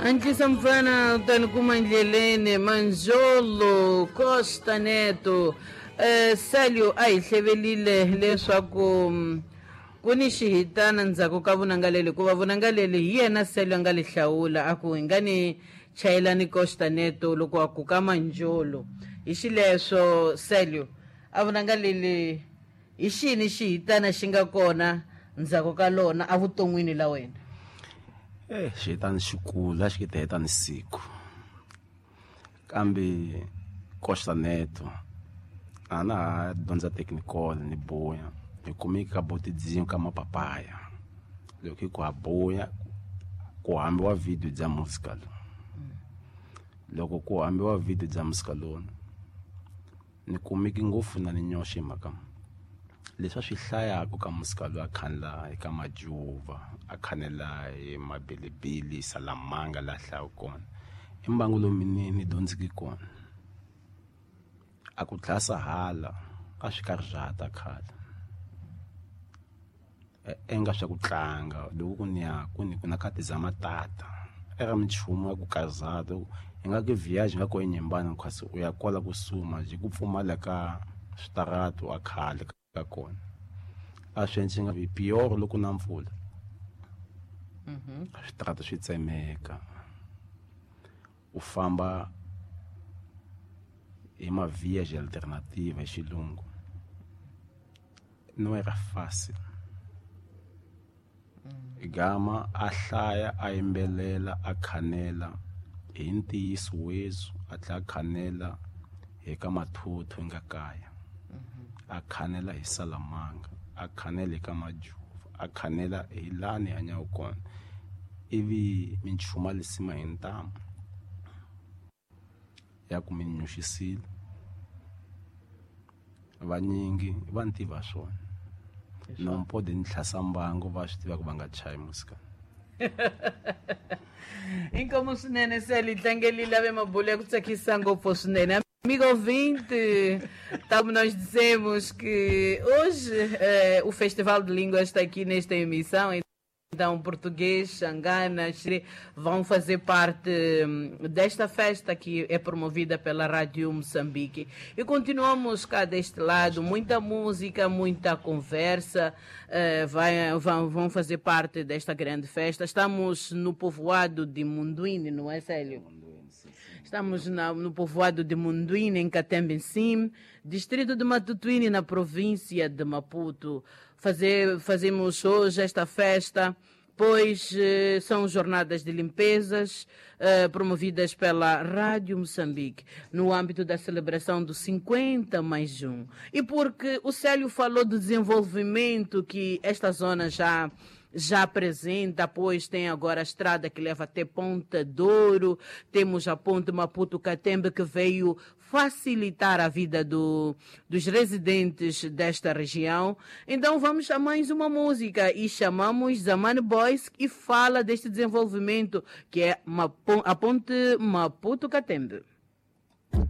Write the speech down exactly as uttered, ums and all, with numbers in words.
Antes mfana tanikumandleleni Manjolo Costa Neto eh Célio a hi hlevelile leswaku ku ni xihitana ndzhaku ka vunangaleli hikuva vunangaleli hi yena Célio a nga li hlawula a ku hi nga ni chayelani Costa Neto loko a ku ka Manjolo hi xileswo Célio a vunangaleli hi xini xihitana xi nga kona ndzhaku ka lona evuton'wini la wena? Eh xihitana xikulu a xi ki ni siku kambe Costa Neto a na ha dyondza technical ni boya hi kumeka ka botidzini ka mapapaya loko hi ku ha boya ku hambiwa video bya musical loko ku hambiwa video bya musical lona ni kumeki ngopfu na ni nyoxe mhaka leswi a swi hlayaka ka musical a khanela eka majuva a khanela hi mabilibili salamanga la hlaya kona i mbangu lowu ni ni dyondziki kona a ku dlasa hala a swi karhi swa ta khale enga swa ku tlanga loko ku ni ya ku ni ku na ka tizama tata eka minchumu ya ku kazata hi nga ki viage nga ko enyimbana kasi u ya kwala ku suma ji ku pfumala ka switaratu a khale ka kona a swi endli nga vi pior loko na mpfula switaratu swi tsemeka u famba hi ma-viage alternative hi xilungu no era fácil gama a hlaya a yimbelela a khanela hi ntiyiso wezu a tlhela a khanela hi ka mathuthu nga kaya a khanela hi salamanga a khanela ka majuva a khanela hi lani hanyaka kona ivi minchuma lisima hi ntamu ya ku mi nyuxisile vanyingi va ni tiva swona não pode ntlhasa mbango va swi tiva ku va nga chayi musika. Inkomu swinene Célio tlangelile ave mabulo ya ku tsakisa ngopfu swinene. Amigo ouvinte, tal como nós dizemos que hoje eh, o Festival de Línguas está aqui nesta emissão, então português, xangana, vão fazer parte desta festa que é promovida pela Rádio Moçambique. E continuamos cá deste lado, muita música, muita conversa, eh, vai, vão, vão fazer parte desta grande festa. Estamos no povoado de Munduine, não é, Célio? Estamos na, no povoado de Munduine, em Catembe-Sim, distrito de Matutuine, na província de Maputo. Fazer, fazemos hoje esta festa, pois eh, são jornadas de limpezas eh, promovidas pela Rádio Moçambique, no âmbito da celebração do cinquenta mais um. E porque o Célio falou do desenvolvimento que esta zona já já apresenta, pois tem agora a estrada que leva até Ponta Douro, temos a ponte Maputo-Catembe que veio facilitar a vida do, dos residentes desta região. Então vamos a mais uma música e chamamos Zamani Boys e fala deste desenvolvimento que é a ponte Maputo-Catembe.